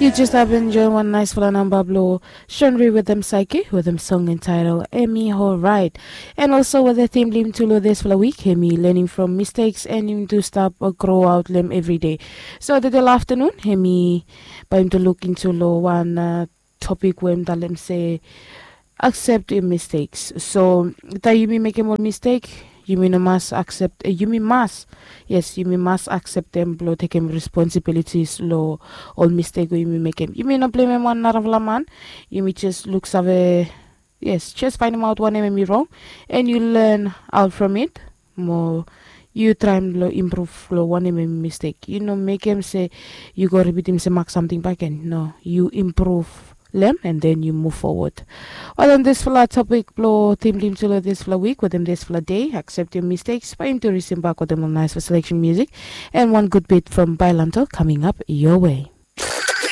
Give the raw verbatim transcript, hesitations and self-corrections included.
Yu jes have enjoy wan naisfala namba blong Shonri wetem Saiki wetem song entitled Emi Horait. And also wetem tim blong yumi tu long disfala wik, hemi learning from mistakes and yumi tu stap grow out long hem everyday. So tede long aftanun hemi bae yumi tu luk intu long wan topik we hem talem se accept your mistakes. So taem yumi mekem ol mistek, yumi no mas accept, yumi mas, yes, yumi mas acceptem blong tekem responsibilities long ol mistek we yumi mekem. Yumi no blemem wan narafala man. Yumi jes luksave, yes, jes faenemaot wanem hemi rong, and yu learn out from it. Mo yu traem blong improve long wanem hemi mistek. Yu no mekem se yu go ripitim se mak samting bakegen. No, yu improve long hem and then yu move forward. Well, on disfala topik blong tim blong yumi tu long disfala wik wetem disfala dei, accept your mistakes, bae yumi tu risim bak wetem ol naisfala selection music and wan gud bit from Bailanto coming up your way.